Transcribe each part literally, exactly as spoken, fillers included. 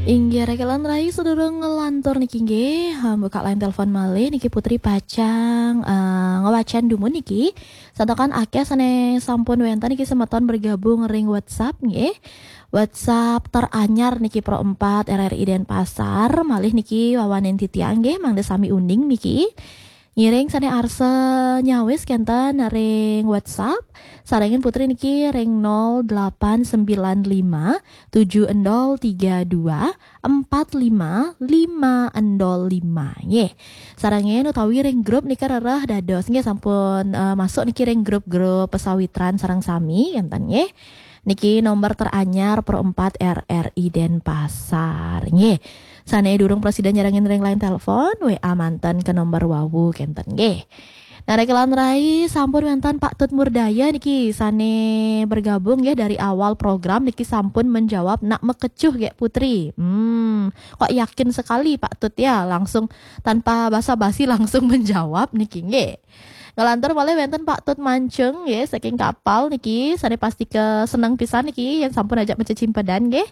Inggih, rekelan rai sedurung ngelantur niki nggih, ha, buka line telepon malih niki Putri pacang eh, ngewacan dumun niki. Santakan akeh sane sampun wenten niki semeton bergabung ring WhatsApp nggih. WhatsApp teranyar niki Pro empat R R I Denpasar, malih niki wawanen titiang nggih, mangda sami uning niki. Ngiring sane arsa nyawis kenten ring WhatsApp, sarengin Putri niki ring nol delapan sembilan lima tujuh endol tiga dua empat lima lima endol lima nggih. Sarengin utawi ring grup nika rereh dados nggih, sampun eh, masuk niki ring grup-grup pesawitran sareng sami kenten nggih. Niki nomor teranyar Pro empat R R I Denpasar nggih. Sane durung prasida nyarengin ring line telepon, W A manten ke nomor wawu kenten nggih. Nah, rekelan rai sampun wenten Pak Tut Murdaya niki sane bergabung nggih dari awal program niki, sampun menjawab nak mekecuh nggih Putri. Hmm, kok yakin sekali Pak Tut ya, langsung tanpa basa-basi langsung menjawab niki nggih. Ngelantur malih wenten Pak Tut Mancung nggih saking Kapal niki, sane pasti ke seneng pisan niki yen sampun ajak macecimpedan nggih.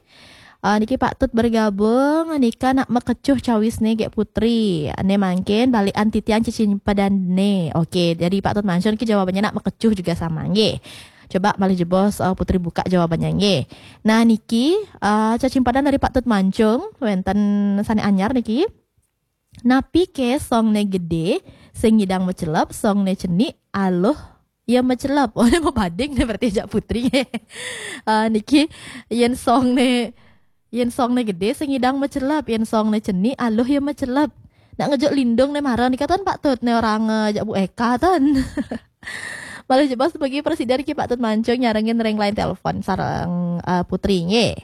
Ah, niki Pak Tut bergabung, nika nak mekecuh cawisne nggih Putri. Ane mangkin balikan titiang cecimpedane. Oke, jadi Pak Tut Mancung niki jawabannya nak mekecuh juga sama nggih. Coba malih jebos eh, Putri buka jawabannya nggih. Nah, niki eh, cecimpadan dari Pak Tut Mancung wenten sane anyar niki. Napi ke songne gede, sing ngidang mecelep, songne cenik, aluh ya mecelep. Oh, ini mau bading nih berarti ajak Putri. Ah, niki yen songne, yen songne gede, sing ngidang mecelep, yen songne cenik, aluh ya mecelep. Nak ngejuk lindung ne mara nika ten Pak Tut, ne orang eh, ajak Bu Eka ten. Malih jebos bagi presiden ki Pak Tut Mancung nyarengin ring line telepon sareng eh, Putri nggih.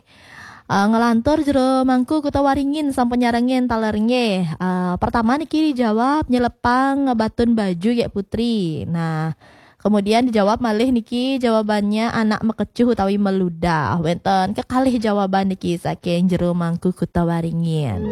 Eh, ngelantur jero Mangku Kuta Waringin sampun nyarengin taler nggih. Eh, pertama niki dijawab nyelepang batun baju nggih Putri. Nah, kemudian dijawab malih niki jawabannya anak mekecuh utawi meludah. Wenten kekalih jawaban niki saking jero Mangku Kuta Waringin.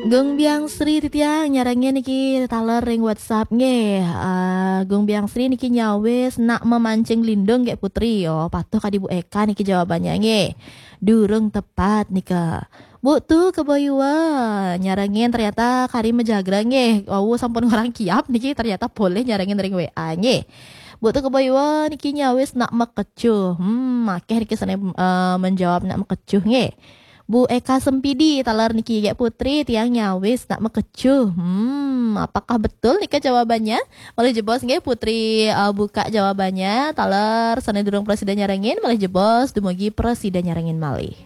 Gung Biang Sri titiang nyarengin niki taler ring WhatsApp nggih. Ah, Gung Biang Sri niki nyawis nak memancing lindung nggih Putri. Oh, patuh kadi Bu Eka niki jawabannya nggih. Durung tepat nika. Bu tu kebo iwa nyarengin ternyata kari mejagra nggih. Wau sampun ngorang kiap niki ternyata boleh nyarengin ring W A nggih. Bu tu kebo iwa niki nyawis nak mekecuh. Hmm, akeh niki sane eh, menjawab nak mekecuh nggih. Bu Eka Sempidi taler niki nggih Putri, tiang nyawis nak mekecuh. Hmm, apakah betul nika jawabannya? Malih jebos nggih Putri eh, buka jawabannya. Taler sane durung presida nyarengin, malih jebos dumugi presida nyarengin malih.